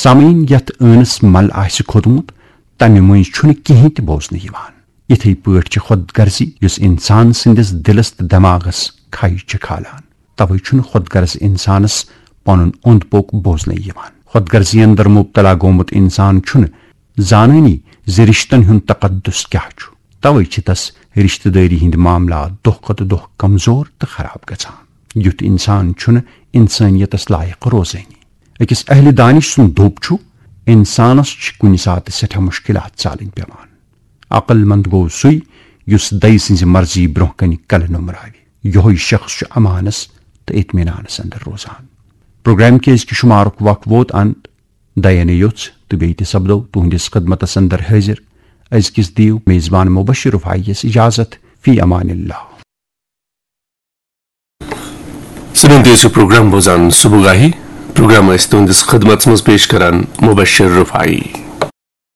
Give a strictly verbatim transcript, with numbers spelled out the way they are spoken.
ژمین یتھ ٲنس مل آسہِ کھوٚتمُت، تمہِ مٔنزۍ چھُنہٕ کِہینۍ تہِ بوزنہٕ یِوان۔ یِتھے پٲٹھۍ چھِ خود غرضی، یُس انسان سٕندِس دِلس تہٕ دٮ۪ماغس کھے چھِ کھالان۔ توے چھُنہٕ خود غرض انسانس پنُن اوٚند پوٚک بوزنہٕ یِوان۔ خود غرضی اندر مبتلا گوٚمُت انسان چھُنہٕ زانٲنی زِ رشتن ہُند تقدس کیاہ چھُ۔ توے چھِ تس رشتہٕ دٲری ہٕندۍ معاملات دۄہ کھۄتہٕ دۄہ کمزور تہٕ خراب گژھان۔ یُتھ انسان چھُنہٕ انسٲنیتس لایق روزٲنی۔ أکِس اہلِ دانش سُند دوٚپ چھُ، انسانس چھِ کُنہِ ساتہٕ سٮ۪ٹھاہ مشکلات ژالٕنۍ پٮ۪وان۔ عقل مند گوٚو سُے، یُس دَیہِ سٕنزِ مرضی برونہہ کنہِ کلہٕ نومراوِ۔ یوہے شخص چھُ امانس تہٕ اطمینانس اندر روزان۔ پروگرام کہِ أزکہِ شمارُک وق ووت انت۔ دَیَنہٕ یوٚژھ تہٕ بیٚیہِ تہِ سپدو تُہنٛدِس خدمتس اندر حٲضِر۔ أزکِس دِیِو میزبان مبشر رفاعی یس اجازت۔ فی امان اللہ۔ سنن تیز چھُ پروگرام بوزان صبح گاہی۔ پروگرام ٲسۍ تُہنٛدِس خدمتس منٛز پیش کران مبشر رفاعی۔